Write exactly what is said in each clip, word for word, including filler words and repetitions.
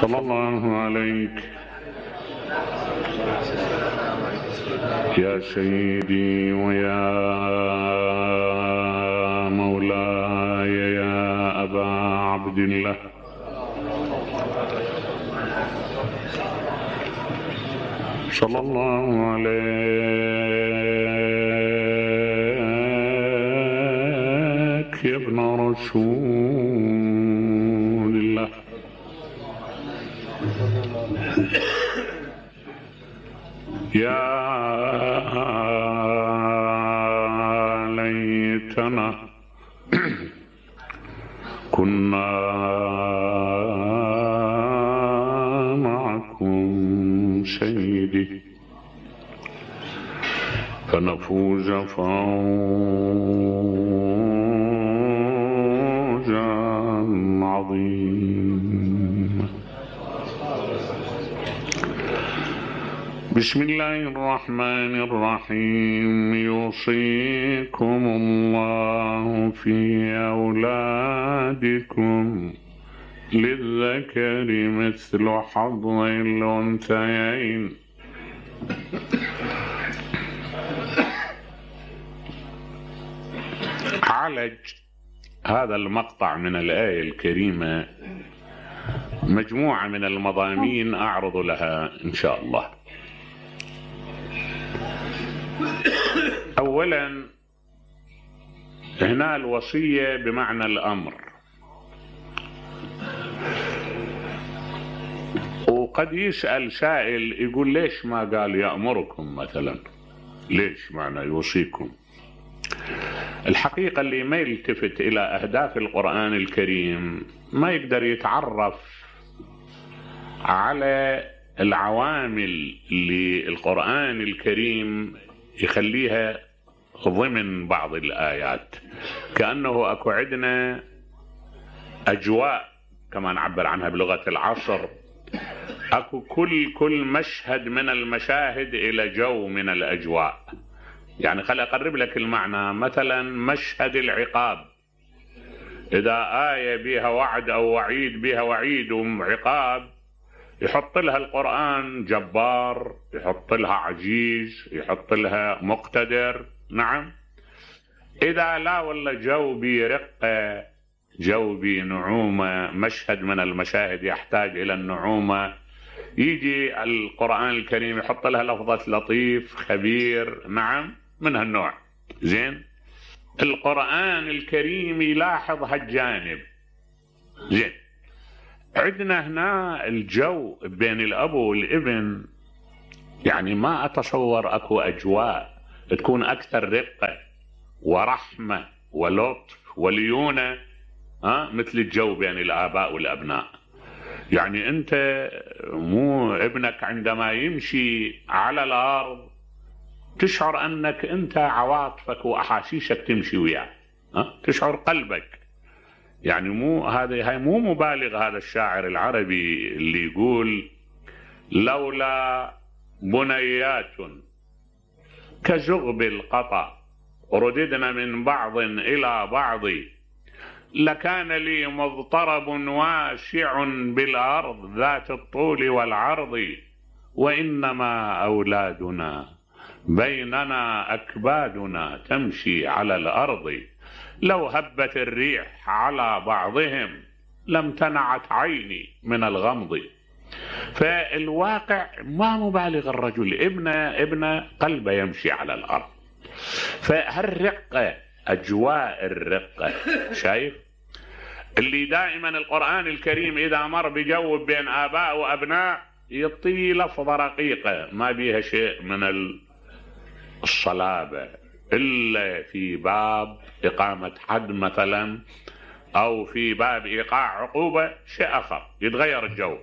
صلى الله عليك يا سيدي ويا مولاي يا أبا عبد الله. صلى الله عليك يا ابن رسول الله. يا ليتنا كنا معكم سيدي فنفوز فوزا عظيما. بسم الله الرحمن الرحيم. يوصيكم الله في أولادكم للذكر مثل حظ الأنثيين. عالج هذا المقطع من الآية الكريمة مجموعة من المضامين أعرض لها إن شاء الله. أولا هنا الوصية بمعنى الأمر، وقد يسأل سائل يقول ليش ما قال يأمركم مثلا، ليش معنى يوصيكم؟ الحقيقة اللي ما يلتفت إلى أهداف القرآن الكريم ما يقدر يتعرف على العوامل اللي القرآن الكريم يخليها ضمن بعض الآيات. كأنه أكو عندنا أجواء كما نعبر عنها بلغة العصر، أكو كل كل مشهد من المشاهد إلى جو من الأجواء. يعني خلي أقرب لك المعنى، مثلا مشهد العقاب، إذا آية بها وعد أو وعيد، بها وعيد وعقاب، يحط لها القرآن جبار، يحط لها عزيز، يحط لها مقتدر. نعم. إذا لا والله جو برقة، جو بنعومة، مشهد من المشاهد يحتاج إلى النعومة، يجي القرآن الكريم يحط لها لفظة لطيف خبير. نعم، من هالنوع. زين، القرآن الكريم يلاحظ هالجانب. زين، عندنا هنا الجو بين الأب والابن، يعني ما أتصور أكو أجواء تكون أكثر رقة ورحمة ولطف وليونة ها مثل الجو بين الآباء والأبناء. يعني أنت مو ابنك عندما يمشي على الأرض تشعر أنك أنت عواطفك وأحاسيسك تمشي وياه، ها تشعر قلبك. يعني مو هذا هاي مو مبالغ. هذا الشاعر العربي اللي يقول لولا بنيات كزغب القطا رددنا من بعض إلى بعض لكان لي مضطرب واسع بالأرض ذات الطول والعرض وإنما أولادنا بيننا أكبادنا تمشي على الأرض لو هبت الريح على بعضهم لم تنعت عيني من الغمض. فالواقع ما مبالغ، الرجل ابن ابن قلبه يمشي على الأرض. فهالرقة، أجواء الرقة، شايف اللي دائما القرآن الكريم إذا مر بجو بين آباء وأبناء يعطي لفظة رقيقة ما بيها شيء من الصلابة، إلا في باب إقامة حد مثلا أو في باب إيقاع عقوبة شيء آخر يتغير الجو.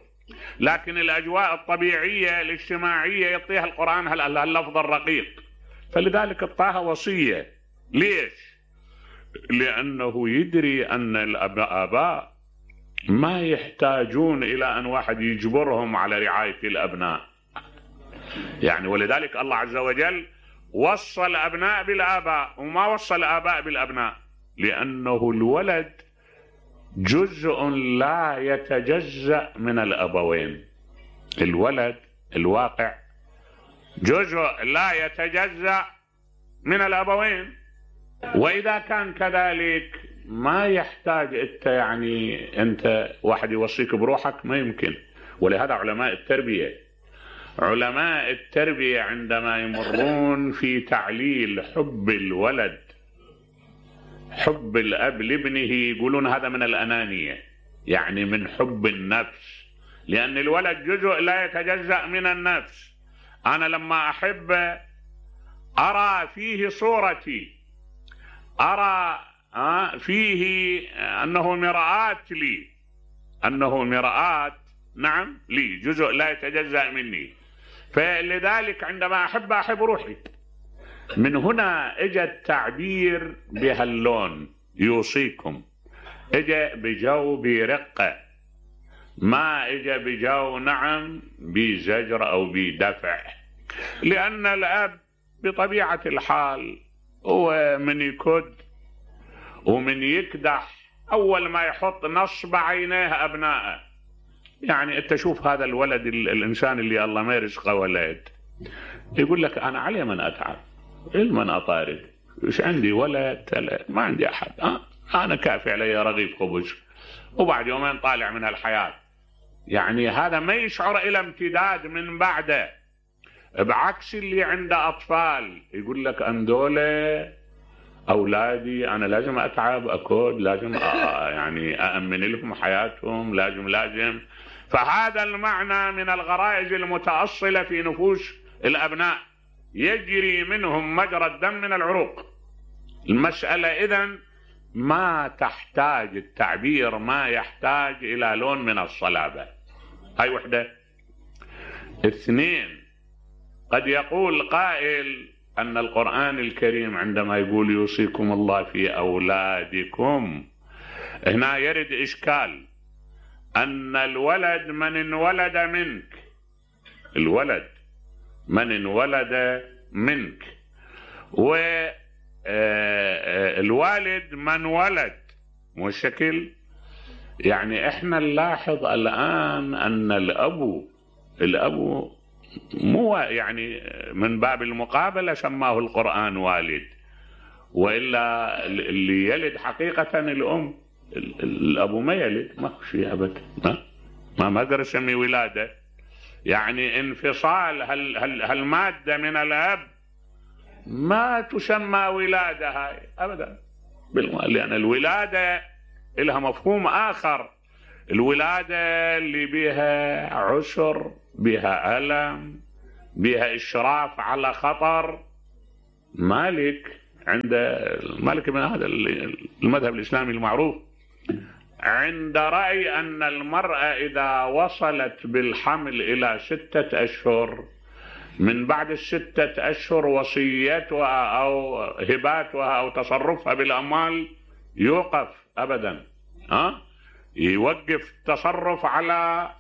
لكن الأجواء الطبيعية الاجتماعية يعطيها القرآن هاللفظ الرقيق. فلذلك اعطاها وصية. ليش؟ لأنه يدري أن الآباء ما يحتاجون إلى أن واحد يجبرهم على رعاية الأبناء. يعني ولذلك الله عز وجل وصى الأبناء بالآباء وما وصى الآباء بالأبناء، لأنه الولد جزء لا يتجزأ من الأبوين. الولد الواقع جزء لا يتجزأ من الأبوين، وإذا كان كذلك ما يحتاج انت يعني انت واحد يوصيك بروحك، ما يمكن. ولهذا علماء التربية علماء التربية عندما يمرون في تعليل حب الولد، حب الأب لابنه، يقولون هذا من الأنانية، يعني من حب النفس، لأن الولد جزء لا يتجزأ من النفس. أنا لما أحب أرى فيه صورتي، أرى فيه أنه مرآة لي، أنه مرآة نعم لي، جزء لا يتجزأ مني. فلذلك عندما أحب أحب روحي. من هنا اجى التعبير بهاللون يوصيكم، اجى بجو برقة، ما اجى بجو نعم بزجر أو بدفع، لأن الأب بطبيعة الحال هو من يكد ومن يكدح أول ما يحط نصب عينيه أبنائه. يعني أنت شوف هذا الولد الإنسان اللي الله ما يرزقه ولد، يقول لك أنا علي من أتعب، علما أطارد، إيش عندي ولد، ما عندي أحد، أه؟ أنا كافي علي رغيف خبز، وبعد يومين طالع من الحياة. يعني هذا ما يشعر إلى امتداد من بعده، بعكس اللي عنده أطفال يقول لك أن دولة أولادي أنا لازم أتعب أكود، لازم يعني أأمن لهم حياتهم، لازم لازم. فهذا المعنى من الغرائز المتأصلة في نفوس الأبناء، يجري منهم مجرى الدم من العروق. المسألة إذن ما تحتاج التعبير، ما يحتاج إلى لون من الصلابة. هاي وحدة. اثنين، قد يقول قائل أن القرآن الكريم عندما يقول يوصيكم الله في أولادكم، هنا يرد إشكال أن الولد من انولد منك، الولد من انولد منك، والوالد من ولد، مو الشكل. يعني احنا نلاحظ الآن أن الأب الأب مو يعني من باب المقابلة سماه القرآن والد، وإلا اللي يلد حقيقة الأم، الأب ما يلد، ما شيء أبدا، ما ما أقدر أسمي ولادة. يعني انفصال هال هال هالمادة من الأب ما تسمى ولادة هاي أبدا، لأن الولادة لها مفهوم آخر. الولادة اللي بها عسر، بها ألم، بها إشراف على خطر. مالك عند مالك من هذا المذهب الإسلامي المعروف عند رأي أن المرأة إذا وصلت بالحمل إلى ستة أشهر، من بعد الستة أشهر وصيتها أو هباتها أو تصرفها بالأموال يوقف أبدا، ها؟ يوقف التصرف على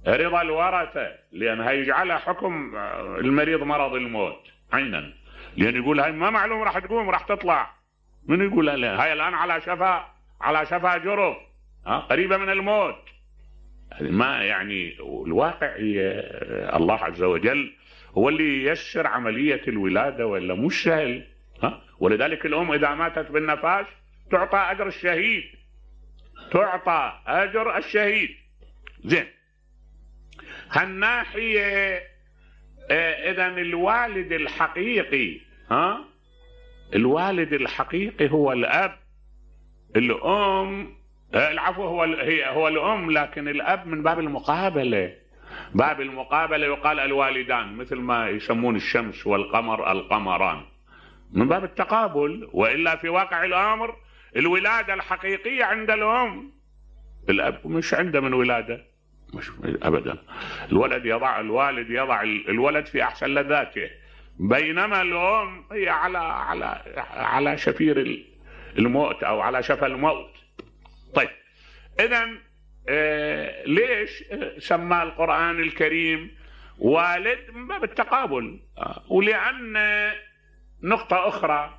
رضا الورثة، لأن هيجعلها حكم المريض مرض الموت عينا، لأن يقول هاي ما معلوم راح تقوم راح تطلع. من يقول لا هاي الآن على شفا على شفا جرف، ها، قريبة من الموت. ما يعني الواقع الله عز وجل هو اللي ييسر عملية الولادة، ولا مش سهل، ها؟ ولذلك الأم إذا ماتت بالنفاس تعطى أجر الشهيد، تعطى أجر الشهيد. زين، هالناحية إذن الوالد الحقيقي، ها، الوالد الحقيقي هو الأب. الأم العفو هو هي هو الأم، لكن الأب من باب المقابلة، باب المقابلة يقال الوالدان، مثل ما يسمون الشمس والقمر القمران، من باب التقابل. وإلا في واقع الأمر الولادة الحقيقية عند الأم، الأب مش عنده من ولادة، مش أبدا. الولد يضع الوالد يضع الولد في أحسن لذاته، بينما الأم هي على على على شفير الموت أو على شفا الموت. طيب، إذن آه ليش سمى القرآن الكريم والد؟ من باب التقابل. آه ولأن نقطة أخرى،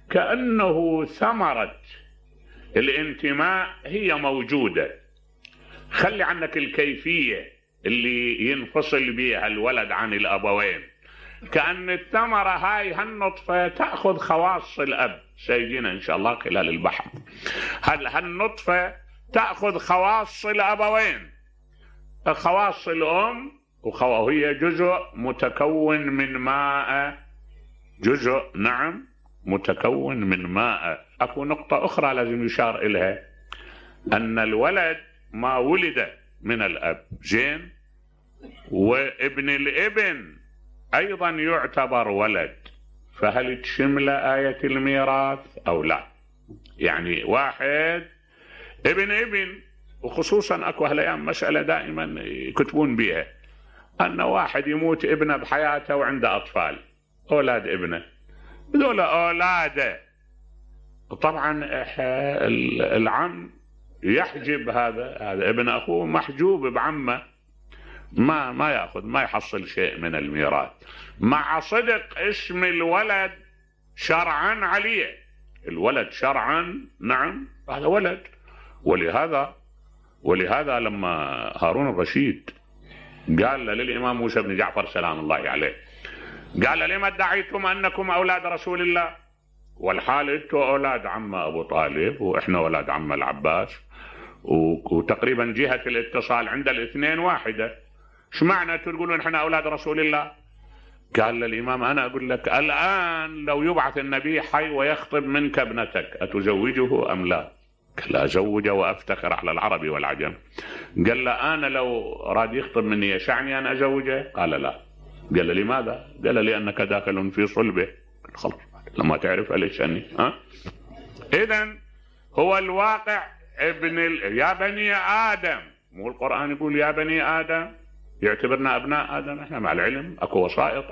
كأنه ثمرة الانتماء هي موجودة، خلي عنك الكيفية اللي ينفصل بها الولد عن الأبوين. كأن الثمرة هاي هالنطفة تأخذ خواص الأب، سيجينا إن شاء الله خلال البحث. هل هالنطفة تأخذ خواص الأبوين، خواص الأم، وهي جزء متكون من ماء، جزء نعم متكون من ماء. أكو نقطة أخرى لازم يشار إليها، أن الولد ما ولد من الأب زين، وابن الابن أيضا يعتبر ولد، فهل تشمل آية الميراث أو لا؟ يعني واحد ابن ابن، وخصوصا أكو هالأيام مسألة دائما يكتبون بها، أن واحد يموت ابنه بحياته وعنده أطفال أولاد ابنه، هذول أولاده طبعا العم يحجب هذا هذا ابن أخوه محجوب بعمه، ما ما يأخذ ما يحصل شيء من الميراث، مع صدق اسم الولد شرعا عليه، الولد شرعا نعم هذا ولد. ولهذا ولهذا لما هارون الرشيد قال للإمام موسى بن جعفر سلام الله عليه، قال لما ادعيتم أنكم أولاد رسول الله والحال انتم أولاد عم أبو طالب وإحنا أولاد عم العباس، وتقريبا جهة الاتصال عند الاثنين واحدة، شو معنى تقولون إحنا أولاد رسول الله؟ قال للإمام أنا أقول لك الآن لو يبعث النبي حي ويخطب منك ابنتك أتزوجه أم لا؟ قال أزوجه وأفتخر على العربي والعجم. قال له أنا لو راد يخطب مني يشعني أن أزوجه؟ قال لا. قال لماذا؟ قال لأنك داخل في صلبه. خلاص لما تعرف ليش أني ها؟ إذن هو الواقع ابن ال... يا بني آدم، مو القرآن يقول يا بني آدم، يعتبرنا أبناء آدم، إحنا مع العلم أكو وسائط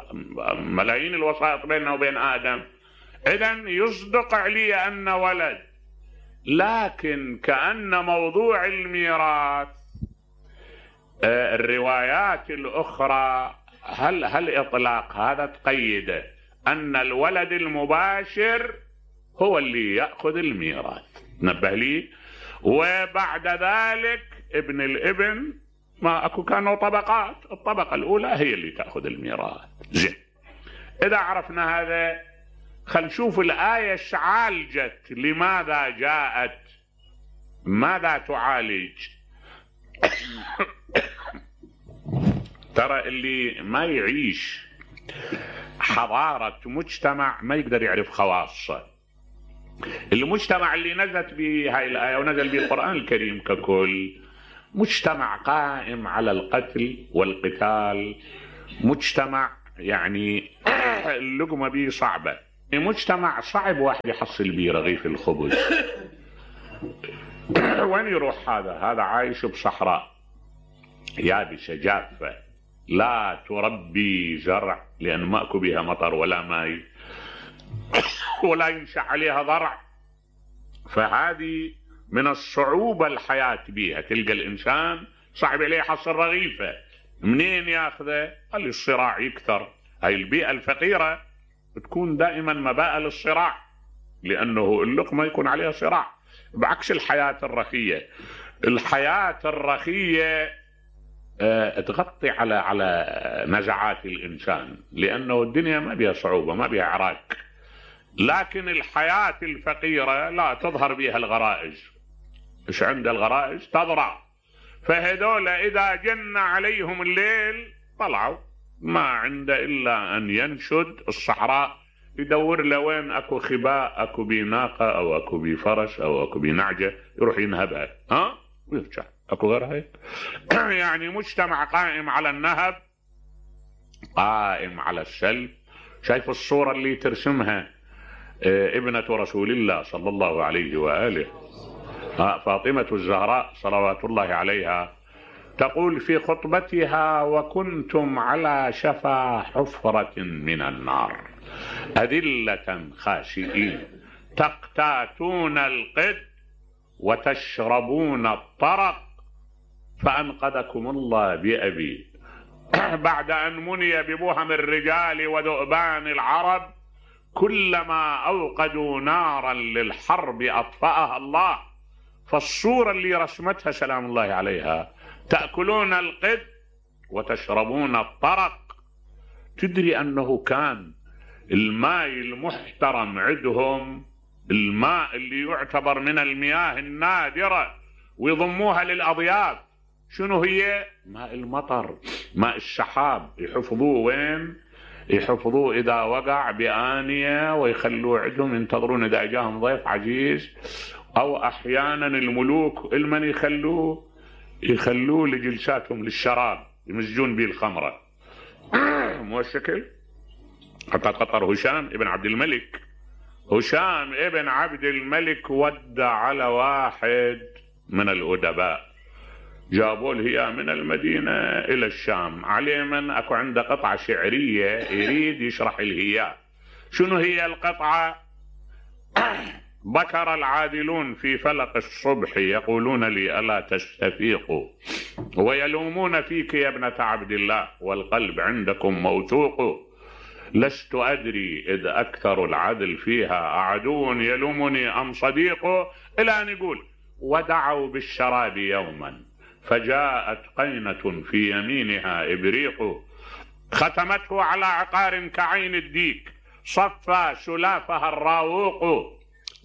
ملايين الوسائط بيننا وبين آدم. إذن يصدق علي أن ولد، لكن كأن موضوع الميراث الروايات الأخرى هل هل إطلاق هذا تقيده أن الولد المباشر هو اللي يأخذ الميراث، نبه لي، وبعد ذلك ابن الابن ما أكو كانوا طبقات، الطبقة الأولى هي اللي تأخذ الميراث. زين، إذا عرفنا هذا خل نشوف الآية ايش عالجت، لماذا جاءت، ماذا تعالج. ترى اللي ما يعيش حضارة مجتمع ما يقدر يعرف خواصه. المجتمع اللي نزلت به هاي الآية ونزل به القرآن الكريم ككل مجتمع قائم على القتل والقتال، مجتمع يعني اللقمة به صعبة، مجتمع صعب واحد يحصل به رغيف الخبز. وين يروح هذا؟ هذا عايش بصحراء يابسة جافة لا تربي زرع لأن ما أكو بها مطر ولا ماء ولا ينشأ عليها ضرع، فهذه من الصعوبة الحياة بها. تلقى الإنسان صعب عليه يحصل رغيفة، منين ياخذه؟ قال لي الصراع يكثر. هاي البيئة الفقيرة تكون دائما مباء للصراع، لأنه اللقمة يكون عليها صراع، بعكس الحياة الرخية. الحياة الرخية اه تغطي على على نزعات الإنسان، لأنه الدنيا ما بها صعوبة ما بها عراك. لكن الحياة الفقيرة لا تظهر بها الغرائز، إيش عند الغرائز تضرع، فهذول إذا جن عليهم الليل طلعوا ما عنده إلا أن ينشد الصحراء، يدور لوين أكو خباء، أكو بناقة أو أكو بفرس أو أكو بنعجة، يروح ينهبها ها ويرجع. أكو غير هيك. يعني مجتمع قائم على النهب، قائم على السلب. شايف الصورة اللي ترسمها ابنة رسول الله صلى الله عليه وآله فاطمة الزهراء صلوات الله عليها، تقول في خطبتها: وكنتم على شفا حفرة من النار أذلة خاشئين تقتاتون القد وتشربون الطرق فأنقذكم الله بأبي. بعد أن مني ببهم الرجال وذؤبان العرب كلما أوقدوا نارا للحرب أطفأها الله فالصورة اللي رسمتها سلام الله عليها، تأكلون القد وتشربون الطرق. تدري أنه كان الماء المحترم عندهم الماء اللي يعتبر من المياه النادرة ويضموها للأضياف. شنو هي؟ ماء المطر، ماء السحاب. يحفظوه وين؟ يحفظوه إذا وقع بآنية ويخلوه عندهم ينتظرون إذا جاهم ضيف عزيز، أو أحيانا الملوك المن يخلوه يخلوه لجلساتهم للشراب، يمزجون به الخمرة. مو الشكل؟ حتى قطر هشام ابن عبد الملك، هشام ابن عبد الملك ودع على واحد من الأدباء، جابوا له من المدينة إلى الشام، عليه من أكو عنده قطعة شعرية يريد يشرح الهياء. شنو هي القطعة؟ بكر العادلون في فلق الصبح يقولون لي ألا تستفيقوا، ويلومون فيك يا ابنة عبد الله، والقلب عندكم موثوق. لست أدري إذ أكثر العدل فيها أعدو يلومني أم صديق. إلى أن يقول ودعوا بالشراب يوما فجاءت قينة في يمينها إبريق، ختمته على عقار كعين الديك، صفى سلافها الراوق.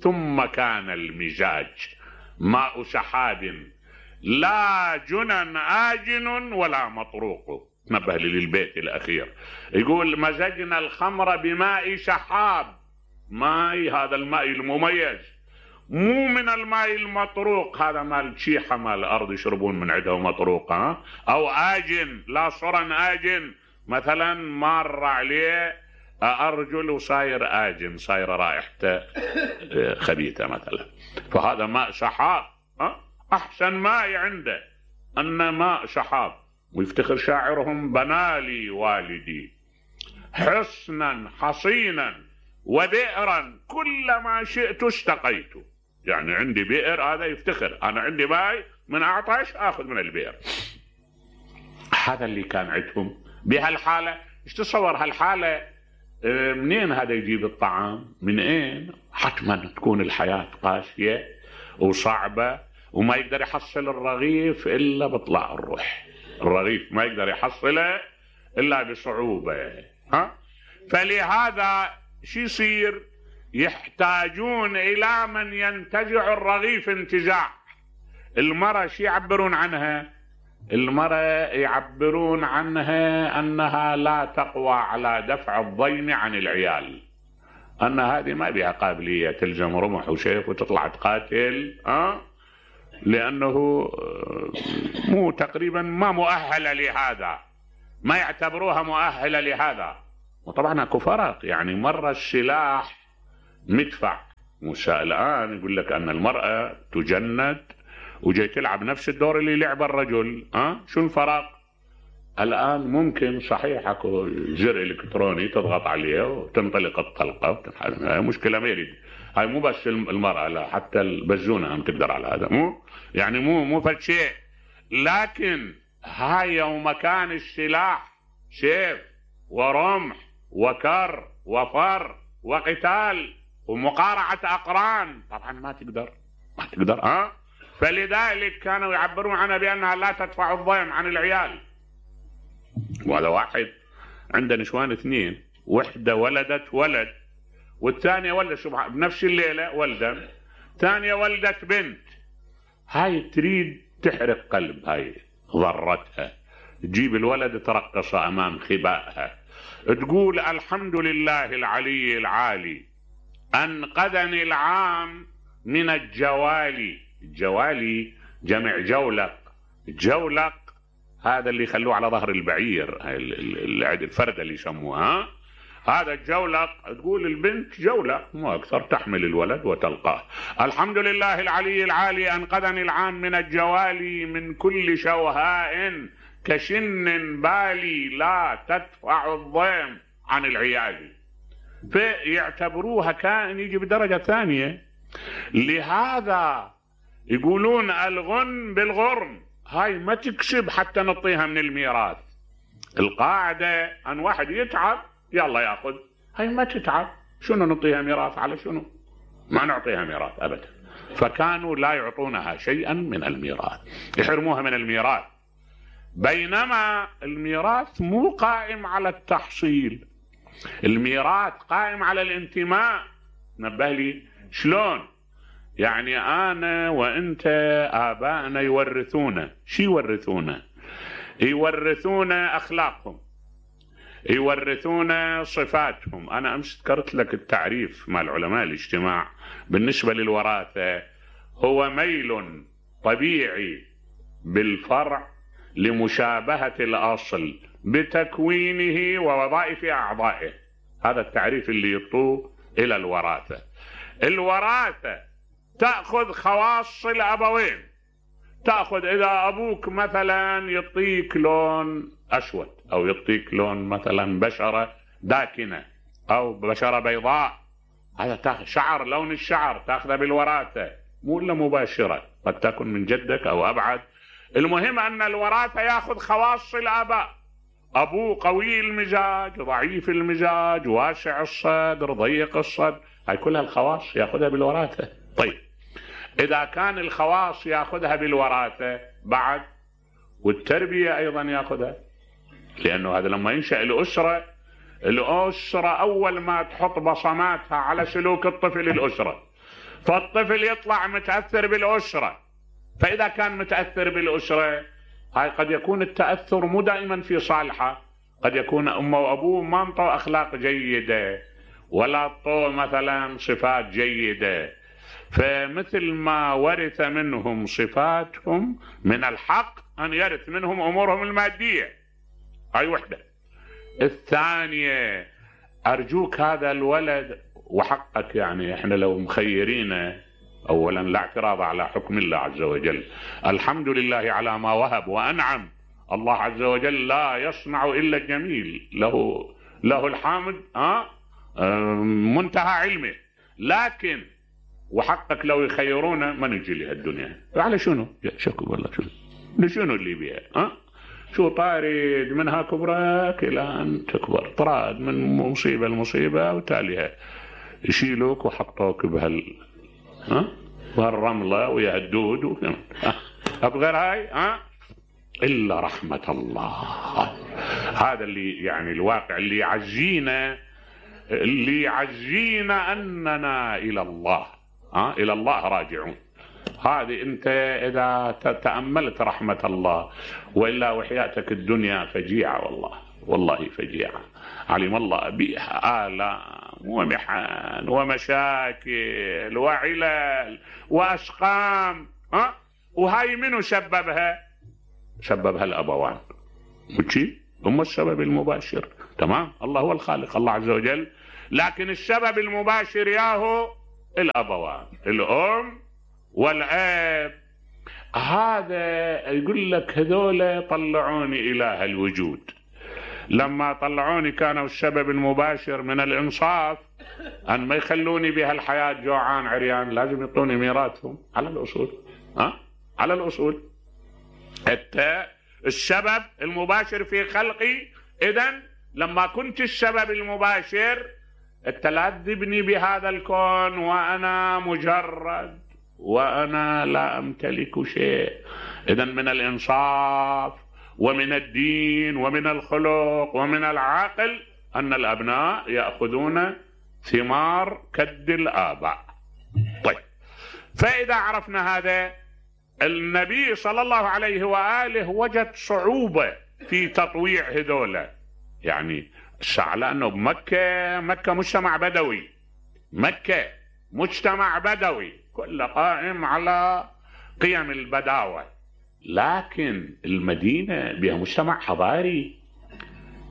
ثم كان المزاج ماء سحاب لا جنن آجن ولا مطروق. نبه لي للبيت الأخير، يقول مزجنا الخمر بماء سحاب، ماء هذا الماء المميز، مو من الماء المطروق، هذا ماء الشيحة ماء الأرض يشربون من عنده مطروق، ها؟ أو آجن، لا صرن آجن، مثلا مر عليه أرجل وصاير آجن، صاير رائحته خبيثة مثلا، فهذا ماء سحاب. ها؟ أحسن ماء عنده أن ماء سحاب. ويفتخر شاعرهم بنالي والدي حصنا حصينا وبئرا كلما شئت استقيت. يعني عندي بئر، هذا يفتخر، أنا عندي ماء من أعطش أخذ من البئر. هذا اللي كان عندهم بهالحالة. ايش تصور هالحالة؟ منين هذا يجيب الطعام؟ من اين؟ حتما تكون الحياة قاسية وصعبة، وما يقدر يحصل الرغيف إلا بطلع الروح. الرغيف ما يقدر يحصله إلا بصعوبة. ها؟ فلهذا شو يصير؟ يحتاجون إلى من ينتزع الرغيف انتزاع. المرأة شو يعبرون عنها؟ المرأة يعبرون عنها أنها لا تقوى على دفع الضيم عن العيال، أن هذه ما بها قابلية تلزم رمح وسيف وتطلع تقاتل، أه؟ لأنه مو تقريبا ما مؤهلة لهذا، ما يعتبروها مؤهلة لهذا. وطبعا اكو فرق، يعني مرة السلاح مدفع، موسى الآن يقول لك أن المرأة تجند وجاي تلعب نفس الدور اللي لعب الرجل. أه؟ شو الفرق؟ الآن ممكن صحيح اكو زر إلكتروني تضغط عليه وتنطلق الطلقة، هاي مشكلة ما يريد، هاي مو بس المرأة، لا حتى البزونة هم تقدر على هذا، مو يعني مو مو فد شيء. لكن هاي يوم كان السلاح سيف ورمح وكر وفر وقتال ومقارعة أقران، طبعا ما تقدر ما تقدر ها. فلذلك كانوا يعبرون عنها بأنها لا تدفع الضيم عن العيال. وهذا واحد عنده نسوان اثنين، وحدة ولدت ولد والثانية ولدت سبحان بنفس الليلة ولدا، ثانية ولدت بنت. هاي تريد تحرق قلب، هاي ضرتها، تجيب الولد ترقص أمام خبائها، تقول الحمد لله العلي العالي أنقذني العام من الجوالي. الجوالي جمع جولق، جولق هذا اللي يخلوه على ظهر البعير، الفردة اللي يسموها، هذا الجولق. تقول البنت جولق مو أكثر، تحمل الولد وتلقاه. الحمد لله العلي العالي أنقذني العام من الجوالي، من كل شوهاء كشن بالي لا تدفع الضيم عن العيال. فيعتبروها كائن يجي بدرجة ثانية. لهذا يقولون الغن بالغرم، هاي ما تكسب حتى نعطيها من الميراث. القاعدة أن واحد يتعب يلا ياخذ، هاي ما تتعب، شنو نعطيها ميراث على شنو؟ ما نعطيها ميراث أبدا. فكانوا لا يعطونها شيئا من الميراث، يحرموها من الميراث. بينما الميراث مو قائم على التحصيل، الميراث قائم على الانتماء. نبه لي شلون؟ يعني انا وانت ابائنا يورثونا، شي يورثونا؟ يورثونا اخلاقهم، يورثونا صفاتهم. انا امس ذكرت لك التعريف مع العلماء الاجتماع بالنسبة للوراثة، هو ميل طبيعي بالفرع لمشابهة الأصل بتكوينه ووظائف أعضائه. هذا التعريف اللي يطوه إلى الوراثة. الوراثة تأخذ خواص الأبوين، تأخذ إذا أبوك مثلا يعطيك لون أسود أو يعطيك لون مثلا بشرة داكنة أو بشرة بيضاء، هذا تاخذ شعر، لون الشعر تأخذه بالوراثة، مو إلا مباشرة، قد تكون من جدك أو أبعد. المهم أن الوراثة يأخذ خواص الآباء، أبوه قوي المزاج، ضعيف المزاج، واسع الصدر، ضيق الصدر، هاي كلها الخواص يأخذها بالوراثة. طيب إذا كان الخواص يأخذها بالوراثة بعد، والتربية أيضا يأخذها، لأنه هذا لما ينشأ الأسرة، الأسرة أول ما تحط بصماتها على سلوك الطفل الأسرة، فالطفل يطلع متأثر بالأسرة. فإذا كان متأثر بالأسرة، هاي قد يكون التأثر مو دائما في صالحه، قد يكون أمه وأبوه ما انطوا أخلاق جيدة ولا انطوا مثلا صفات جيدة، فمثل ما ورث منهم صفاتهم من الحق أن يرث منهم أمورهم المادية. هاي وحدة. الثانية، أرجوك هذا الولد وحقك، يعني إحنا لو مخيرين، أولا لا اعتراض على حكم الله عز وجل، الحمد لله على ما وهب وأنعم، الله عز وجل لا يصنع إلا الجميل، له له الحمد ها منتهى علمه. لكن وحقك لو يخيرونا ما نجي لها الدنيا، على شنو؟ شكو والله شنو لشنو اللي بيها؟ ها شو طارد منها كبرك إلى أن تكبر، طراد من مصيبة لمصيبة وتاليها يشيلوك وحطوك بهال ها وهالرملة ويا الدود وكذا. أبغير هاي ها إلا رحمة الله. هذا اللي يعني الواقع اللي يعزينا، اللي يعزينا أننا إلى الله ها إلى الله راجعون. هذه أنت إذا تأملت رحمة الله، وإلا وحياتك الدنيا فجيعة، والله والله فجيعة، علم الله بها آلام ومحن ومشاكل وعلل وأسقام ها وهاي منو سببها؟ سببها الأبوان، وشي هم السبب المباشر. تمام، الله هو الخالق الله عز وجل، لكن السبب المباشر ياهو الأبوان، الأم والأب. هذا يقول لك هذول طلعوني إله الوجود، لما طلعوني كانوا السبب المباشر من الإنصاف أن ما يخلوني بهالحياة جوعان عريان، لازم يعطوني ميراثهم على الأصول ها على الأصول. حتى السبب المباشر في خلقي، إذن لما كنت السبب المباشر أنت لا تذبني بهذا الكون وأنا مجرد وأنا لا أمتلك شيء. إذن من الإنصاف ومن الدين ومن الخلق ومن العقل أن الأبناء يأخذون ثمار كد الآباء. طيب، فإذا عرفنا هذا، النبي صلى الله عليه وآله وجد صعوبة في تطويع هذولا، يعني على أنه بمكة، مكة مجتمع بدوي، مكة مجتمع بدوي كله قائم على قيم البداوة، لكن المدينة بها مجتمع حضاري،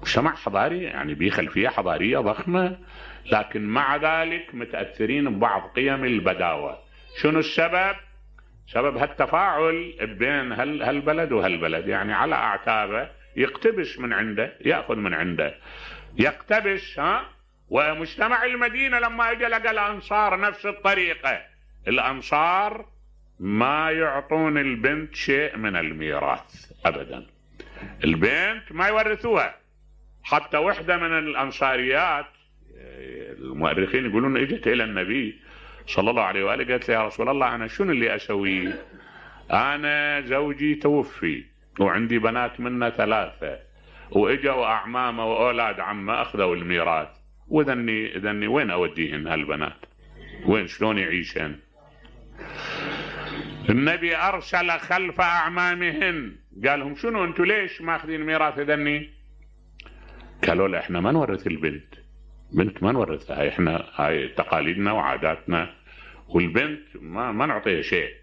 مجتمع حضاري يعني بيه خلفية حضارية ضخمة، لكن مع ذلك متأثرين ببعض قيم البداوة. شنو السبب؟ سبب هالتفاعل بين هالبلد وهالبلد، يعني على أعتابه يقتبس من عنده، يأخذ من عنده، يقتبس ها. ومجتمع المدينة لما اجى لقى الأنصار نفس الطريقة، الأنصار ما يعطون البنت شيء من الميراث أبدا، البنت ما يورثوها. حتى وحدة من الأنصاريات المؤرخين يقولون اجت إلى النبي صلى الله عليه وآله قالت له يا رسول الله أنا شنو اللي أسوي؟ أنا زوجي توفي وعندي بنات منا ثلاثة وإجوا أعمامه وأولاد عمه أخذوا الميراث، وذني ذني وين أوديهن هالبنات؟ وين شلون يعيشن؟ النبي أرسل خلف أعمامهن قال لهم شنو أنتوا ليش ماخذين ميراث ذني؟ قالوا له إحنا ما نورث البنت، بنت ما نورثها، إحنا هاي تقاليدنا وعاداتنا، والبنت ما ما نعطيها شيء.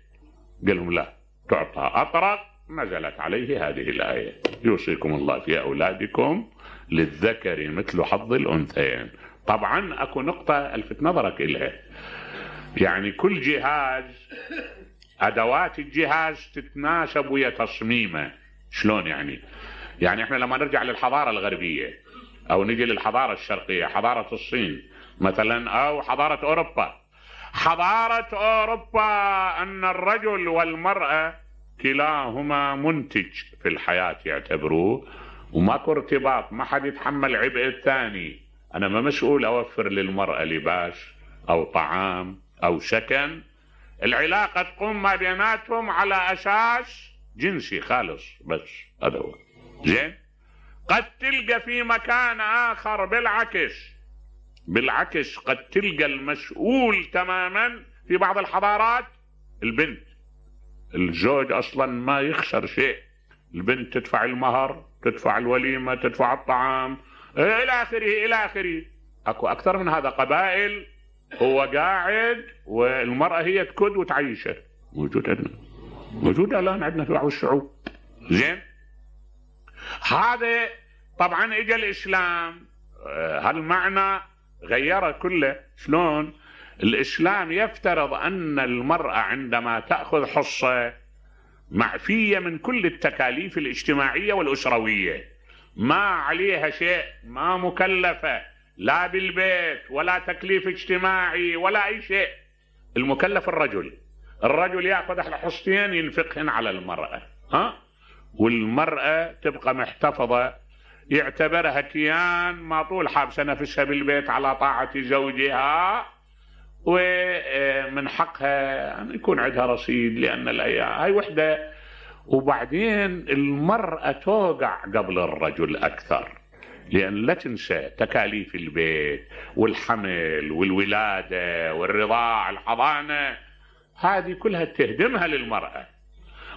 قال لهم لا تعطى. أطرق نزلت عليه هذه الآية يوصيكم الله في أولادكم للذكر مثل حظ الأنثيين. طبعا أكو نقطة ألفت نظرك إليها، يعني كل جهاز أدوات الجهاز تتناسب ويا تصميمه. شلون يعني؟ يعني احنا لما نرجع للحضارة الغربية أو نجي للحضارة الشرقية، حضارة الصين مثلا أو حضارة أوروبا، حضارة أوروبا أن الرجل والمرأة كلاهما منتج في الحياة يعتبروه، وماكو ارتباط، ما حد يتحمل عبء الثاني. أنا ما مسؤول أوفر للمرأة لباس أو طعام أو سكن، العلاقة تقوم ما بيناتهم على أساس جنسي خالص بس، هذا هو. زين؟ قد تلقى في مكان آخر بالعكس، بالعكس قد تلقى المسؤول تماما في بعض الحضارات البنت، الزوج أصلا ما يخسر شيء، البنت تدفع المهر، تدفع الوليمة، تدفع الطعام إلى آخره إلى آخره. أكو أكثر من هذا قبائل هو قاعد والمرأة هي تكد وتعيشه، موجود عندنا، موجود الآن عندنا في بعض الشعوب. زين؟ هذا طبعا اجى الإسلام هالمعنى غيره كله. شلون؟ الإسلام يفترض أن المرأة عندما تأخذ حصة معفية من كل التكاليف الاجتماعية والأسروية، ما عليها شيء، ما مكلفة لا بالبيت ولا تكليف اجتماعي ولا أي شيء. المكلف الرجل، الرجل يأخذ الحصتين ينفقهن على المرأة، ها؟ والمرأة تبقى محتفظة، يعتبرها كيان ما طول حابسة نفسها بالبيت على طاعة زوجها، ومن حقها أن يكون عندها رصيد لأن الأيام هاي وحدة. وبعدين المرأة توقع قبل الرجل أكثر، لأن لا تنسى تكاليف البيت والحمل والولادة والرضاع الحضانة، هذه كلها تهدمها للمرأة.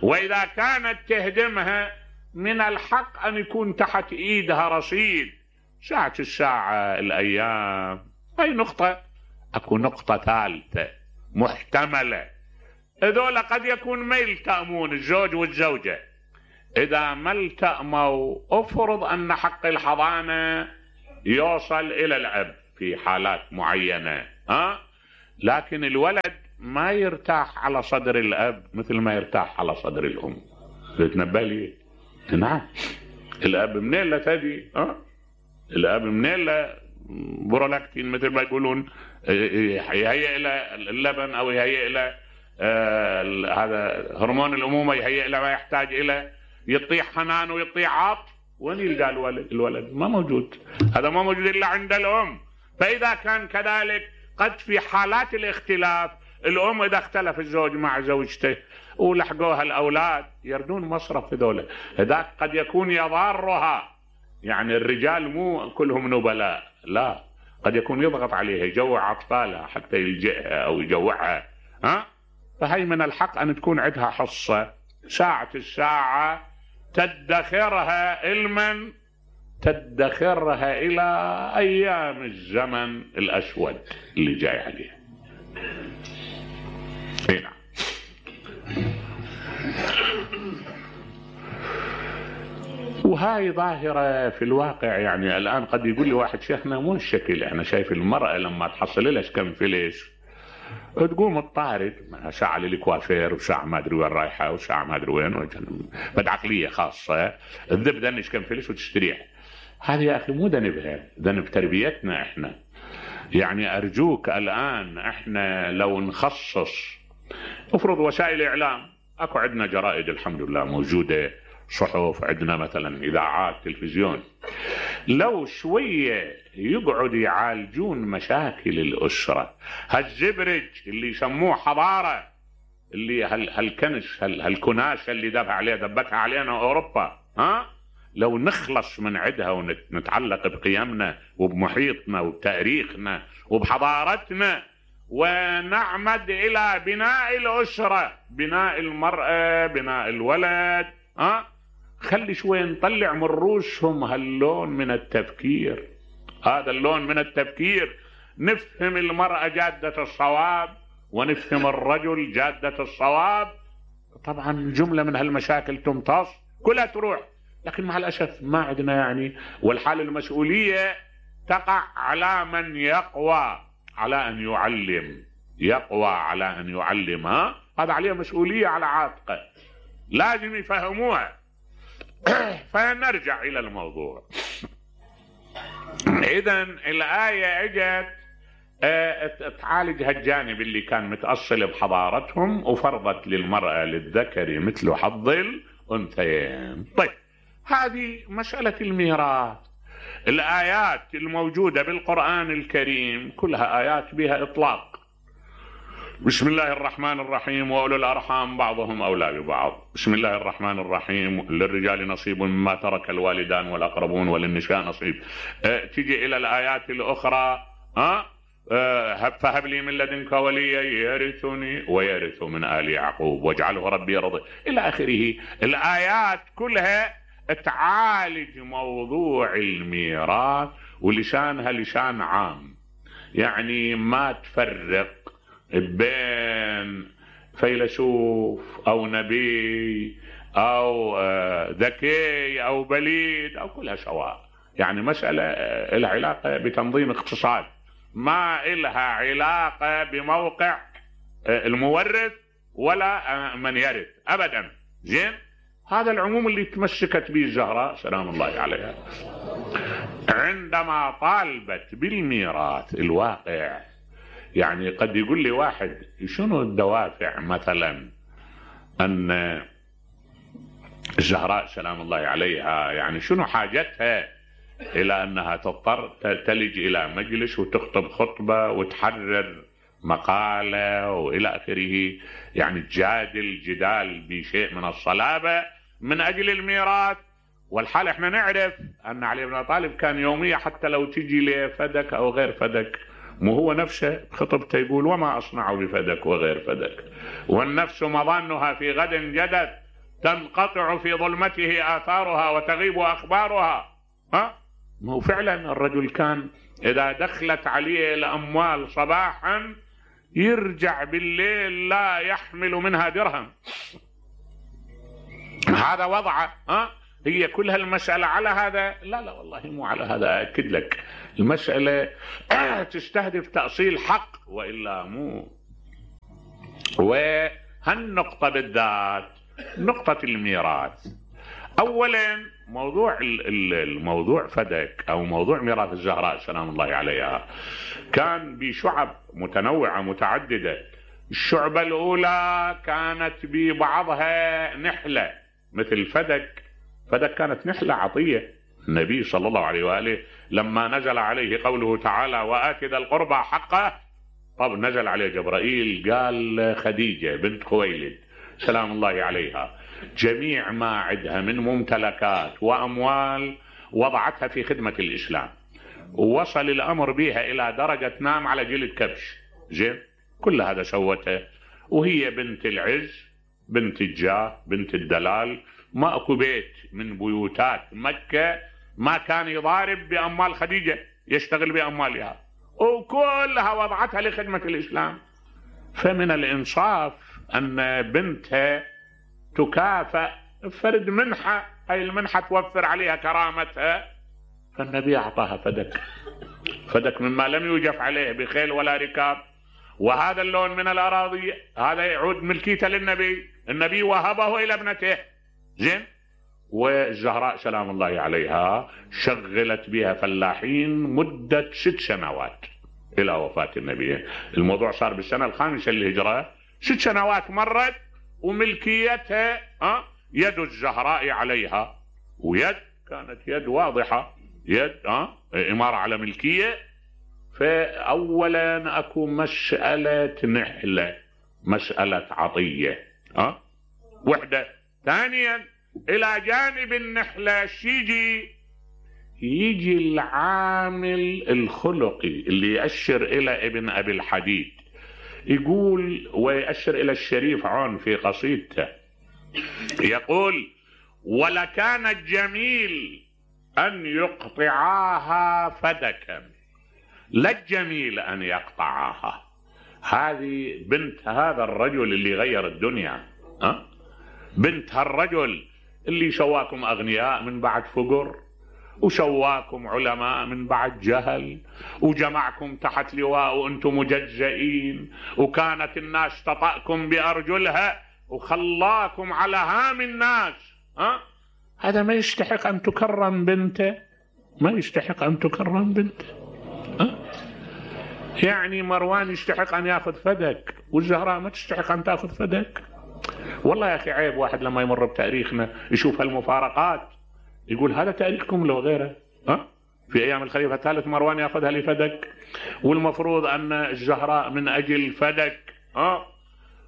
وإذا كانت تهدمها من الحق أن يكون تحت إيدها رصيد ساعة الساعة الأيام. هاي نقطة. أكو نقطة ثالثة محتملة، هذول قد يكون ما يلتأمون الزوج والزوجة، إذا ما التأموا أفرض أن حق الحضانة يوصل إلى الأب في حالات معينة، ها؟ لكن الولد ما يرتاح على صدر الأب مثل ما يرتاح على صدر الأم. تتنبه لي؟ نعم. الأب منين لا تدي، ها؟ الأب منين لا برولاكتين مثل ما يقولون يهيئ إلى اللبن أو يهيئ إلى آه هذا هرمون الأمومة، يهيئ إلى ما يحتاج إلى، يطيح حنان ويطيح عطف. وين يلقى الولد؟ الولد ما موجود، هذا ما موجود إلا عند الأم. فإذا كان كذلك قد في حالات الاختلاف الأم إذا اختلف الزوج مع زوجته ولحقوها الأولاد يردون مصرف هذول، هذاك قد يكون يضارها. يعني الرجال مو كلهم نبلاء، لا، قد يكون يضغط عليها، يجوع أطفالها حتى يلجئها أو يجوعها، ها؟ فهي من الحق أن تكون عندها حصة ساعة الساعة تدخرها علما، تدخرها إلى أيام الزمن الأسود اللي جاي عليه. هنا وهاي ظاهرة في الواقع. يعني الآن قد يقول لي واحد شيخنا مو الشكل، أنا شايف المرأة لما تحصل لها كم فلس تقوم تطارد ساعة للكوافير وساعة ما أدري وين رايحة وساعة ما أدري وين، بد عقلية خاصة تذب ذنش كم فلس وتستريح. هذه يا أخي مو ذنبها، ذنب تربيتنا إحنا. يعني أرجوك الآن إحنا لو نخصص افرض وسائل إعلام، أكو عندنا جرائد الحمد لله موجودة، صحف، عندنا مثلا إذاعات، تلفزيون، لو شوية يقعد يعالجون مشاكل الأسرة، هالزبرج اللي يسموه حضارة، اللي هال هالكنش هال هالكناشة اللي دفع عليها دبتها علينا أوروبا، ها لو نخلص من عدها ونتعلق بقيمنا وبمحيطنا وبتاريخنا وبحضارتنا، ونعمد إلى بناء الأسرة، بناء المرأة، بناء الولد، ها خلي شوي نطلع من رؤوسهم هاللون من التفكير، هذا اللون من التفكير، نفهم المرأة جادة الصواب ونفهم الرجل جادة الصواب. طبعا جملة من هالمشاكل تمتص كلها تروح، لكن مع الأسف ما عندنا يعني، والحال المسؤولية تقع على من يقوى على أن يعلم، يقوى على أن يعلم، ها هذا عليه مسؤولية على عاتقه، لازم يفهموها. فنرجع إلى الموضوع. إذن الآية اجت تعالج هالجانب اللي كان متأصل بحضارتهم، وفرضت للمرأة للذكر مثل حظ الأنثيين. طيب هذه مسألة الميراث. الآيات الموجودة بالقرآن الكريم كلها آيات بها إطلاق. بسم الله الرحمن الرحيم وأولو الأرحام بعضهم أولى ببعض. بسم الله الرحمن الرحيم للرجال نصيب مما ترك الوالدان والأقربون وللنساء نصيب. أه تيجي إلى الآيات الأخرى، ها أه فهب لي من لدنك وليا يرثني ويرث من آل يعقوب واجعله ربي رضي إلى آخره. الآيات كلها تعالج موضوع الميراث، ولسانها لسان عام، يعني ما تفرق بين فيلسوف أو نبي أو ذكي أو بليد أو كلها سواء، يعني مسألة لها علاقة بتنظيم اقتصاد، ما لها علاقة بموقع المورث ولا من يرث أبدا. زين، هذا العموم اللي تمسكت به الزهراء سلام الله عليها عندما طالبت بالميراث. الواقع يعني قد يقول لي واحد شنو الدوافع مثلا أن الزهراء سلام الله عليها يعني شنو حاجتها إلى أنها تضطر تلج إلى مجلس وتخطب خطبة وتحرر مقالة وإلى آخره، يعني تجادل جدال بشيء من الصلابة من أجل الميراث. والحال احنا نعرف أن علي بن أبي طالب كان يومية حتى لو تجي لفدك أو غير فدك، مو هو نفسه خطبته يقول وما أصنع بفدك وغير فدك، والنفس مظنها في غد جدت تنقطع في ظلمته آثارها وتغيب أخبارها. ها ما هو فعلا الرجل كان إذا دخلت عليه الأموال صباحا يرجع بالليل لا يحمل منها درهم. هذا وضعه. ها هي كل هالمسألة على هذا؟ لا لا والله مو على هذا، أكد لك المسألة تستهدف تأصيل حق وإلا مو. وهالنقطة بالذات نقطة الميراث. أولا موضوع الموضوع فدك أو موضوع ميراث الزهراء سلام الله عليها كان بشعب متنوعة متعددة. الشعبة الأولى كانت ببعضها نحلة مثل فدك. فدك كانت نحلة عطية النبي صلى الله عليه وآله لما نزل عليه قوله تعالى وآت ذا القربى حقه. طب نزل عليه جبرائيل قال خديجة بنت خويلد سلام الله عليها جميع ما عندها من ممتلكات وأموال وضعتها في خدمة الإسلام، ووصل الأمر بها إلى درجة تنام على جلد كبش. زين، كل هذا سوته وهي بنت العز بنت الجاه بنت الدلال. ما اكو بيت من بيوتات مكة ما كان يضارب بأموال خديجة، يشتغل بأموالها، وكلها وضعتها لخدمة الإسلام. فمن الإنصاف أن بنتها تكافأ فرد منحة، أي المنحة توفر عليها كرامتها. فالنبي أعطاها فدك، فدك مما لم يوجف عليه بخيل ولا ركاب. وهذا اللون من الأراضي هذا يعود ملكيته للنبي، النبي وهبه إلى ابنته. زين، والزهراء سلام الله عليها شغلت بها فلاحين مدة ست سنوات إلى وفاة النبي. الموضوع صار بالسنة الخامسة للهجرة، ست سنوات مرت وملكيتها أه يد الزهراء عليها، ويد كانت يد واضحة، يد اه إمارة على ملكية. فأولا أكو مسألة نحلة، مسألة عطية اه وحدة. ثانيا إلى جانب النحلة يجي يجي العامل الخلقي اللي يأشر إلى ابن أبي الحديد، يقول ويأشر إلى الشريف عون في قصيدته، يقول: ولكان الجميل أن يقطعاها فدكا، لا الجميل أن يقطعاها. هذه بنت هذا الرجل اللي غير الدنيا، أه؟ بنت هالرجل اللي شواكم أغنياء من بعد فقر، وشواكم علماء من بعد جهل، وجمعكم تحت لواء وأنتم مجزئين، وكانت الناس تطأكم بأرجلها وخلاكم على هام الناس. أه؟ هذا ما يستحق أن تكرم بنته، ما يستحق أن تكرم بنته. أه؟ يعني مروان يستحق أن يأخذ فدك، والزهراء ما تستحق أن تأخذ فدك. والله يا أخي عيب واحد لما يمر بتاريخنا يشوف هالمفارقات يقول هذا تاريخكم لو غيره. أه؟ في أيام الخليفة الثالث مروان يأخذها لفدك، والمفروض أن الزهراء من أجل فدك أه؟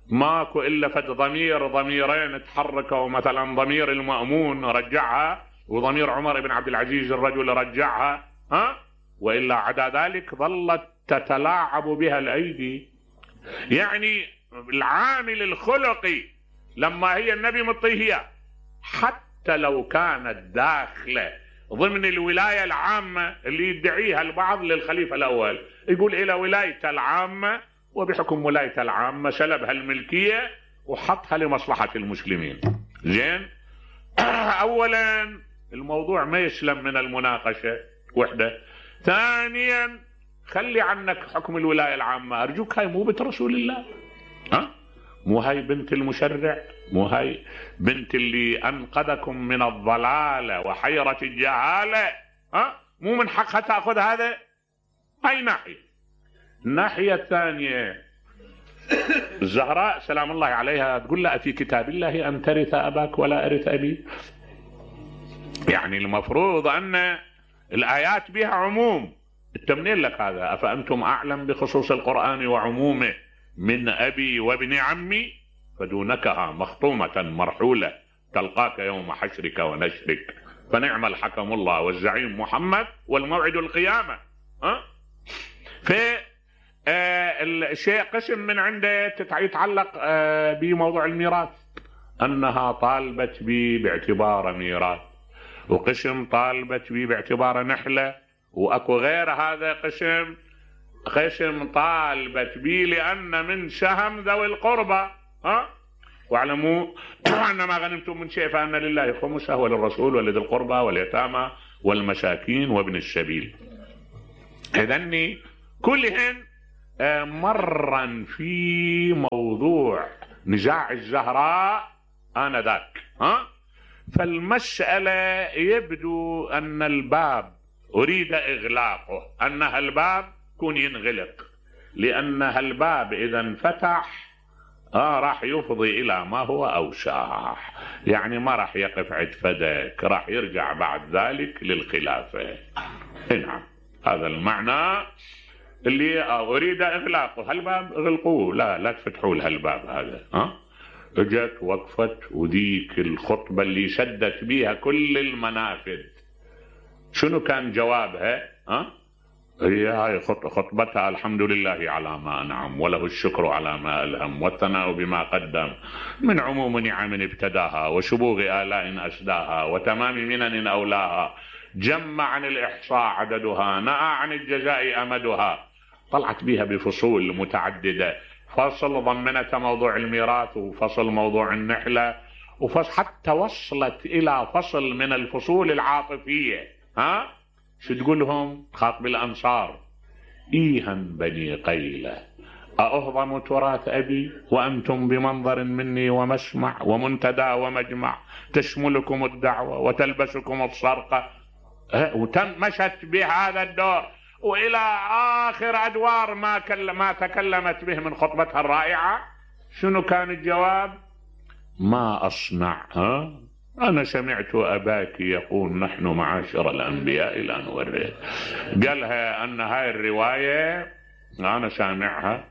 ماكو إلا فد ضمير ضميرين تحركوا، مثلا ضمير المأمون رجعها، وضمير عمر بن عبد العزيز الرجل رجعها أه؟ وإلا عدا ذلك ظلت تتلاعب بها الأيدي. يعني العامل الخلقي لما هي النبي مطيهية حتى لو كانت داخلة ضمن الولاية العامة اللي يدعيها البعض للخليفة الأول، يقول إلى ولاية العامة، وبحكم ولاية العامة سلبها الملكية وحطها لمصلحة المسلمين. زين. أولا الموضوع ما يسلم من المناقشة، وحدة. ثانيا خلي عنك حكم الولاية العامة، أرجوك هاي مو بنت رسول الله، ها؟ مو هاي بنت المشرع، مو هاي بنت اللي أنقذكم من الضلالة وحيرة الجهالة، ها؟ مو من حقها تأخذ هذا؟ هاي ناحية. الناحية الثانية الزهراء سلام الله عليها تقول لا في كتاب الله أن ترث أباك ولا أرث أبي. يعني المفروض أن الآيات بها عموم، التمنين لك هذا؟ أفأنتم أعلم بخصوص القرآن وعمومه من أبي وابن عمي فدونكها مخطومة مرحولة تلقاك يوم حشرك ونشرك فنعم الحكم الله والزعيم محمد والموعد القيامة. أه؟ في آه الشيء قسم من عنده يتعلق آه بموضوع الميراث، أنها طالبت بي باعتبار ميراث، وقسم طالبت بي باعتبار نحلة، وأكو غير هذا قسم قسم طالبت بي لأن من سهم ذوي القربى. ها؟ واعلموا أن ما غنمتم من شيء فأن لله خمسه وللرسول ولذي القربى واليتامى والمساكين وابن السبيل. إذن كلهن مرا في موضوع نزاع الزهراء آنذاك. ها؟ فالمسألة يبدو أن الباب أريد إغلاقه، أن هالباب كون ينغلق، لأن هالباب إذا انفتح آه راح يفضي إلى ما هو أوسع، يعني ما راح يقف عند فدك، راح يرجع بعد ذلك للخلافة. نعم هذا المعنى اللي أريد إغلاقه. هالباب اغلقوه، لا لا تفتحوا لهالباب هذا. ها اجت وقفت وذيك الخطبة اللي سدت بيها كل المنافذ، شنو كان جوابها؟ ها هي هاي خطبتها الحمد لله على ما أنعم وله الشكر على ما ألهم والثناء بما قدم من عموم نعم ابتداها وشبوغ آلاء أسداها وتمام منن أولاها، جمع عن الإحصاء عددها، نأى عن الجزاء أمدها. طلعت بها بفصول متعددة، فصل ضمنت موضوع الميراث، وفصل موضوع النحلة، وفصل حتى وصلت إلى فصل من الفصول العاطفية. ها شو تقولهم؟ خاطب الأنصار: إيها بني قيلة أأهضم تراث أبي وأنتم بمنظر مني ومسمع ومنتدى ومجمع، تشملكم الدعوة وتلبسكم الصرقة. وتمشت بهذا الدور وإلى آخر أدوار ما, ما تكلمت به من خطبتها الرائعة. شنو كان الجواب؟ ما أصنع ها أنا سمعت أباك يقول نحن معاشر الأنبياء لا نورث. قالها أن هاي الرواية أنا سامعها،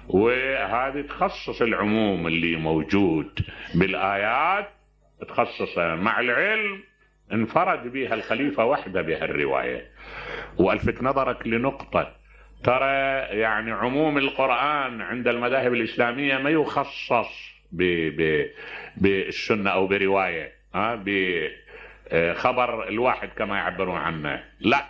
وهذه تخصص العموم اللي موجود بالآيات، تخصصها مع العلم انفرد بها الخليفة وحده بهالرواية. وألفت نظرك لنقطة، ترى يعني عموم القرآن عند المذاهب الإسلامية ما يخصص بالسنة أو برواية ها بخبر الواحد كما يعبرون عنه، لا،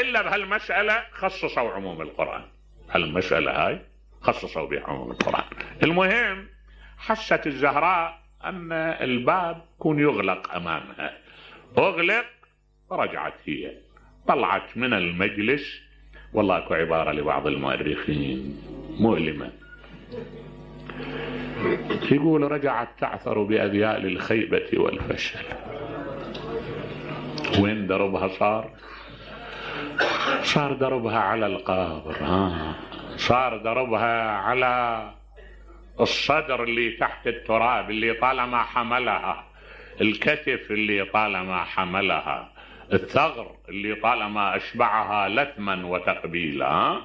إلا بهالمسألة خصصوا عموم القرآن، هالمسألة هاي خصصوا بها عموم القرآن. المهم حست الزهراء أن الباب يكون يغلق أمامها، أغلق ورجعت هي، طلعت من المجلس. والله اكو عبارة لبعض المؤرخين مؤلمة، يقول رجعت تعثر بأذيال الخيبة والفشل. وين دربها صار؟ صار دربها على القبر، ها صار دربها على الصدر اللي تحت التراب، اللي طالما حملها، الكتف اللي طالما حملها، الثغر اللي طالما أشبعها لثما وتقبيلا.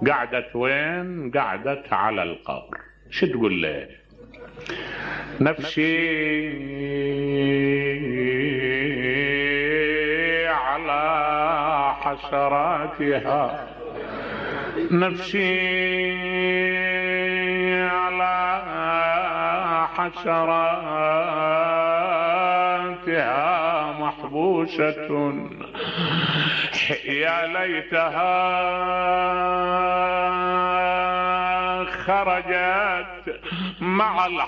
قعدت وين؟ قعدت على القبر. شو تقول له؟ نفسي على حسراتها، نفسي على حسراتها محبوسة، يا ليتها خرجت مع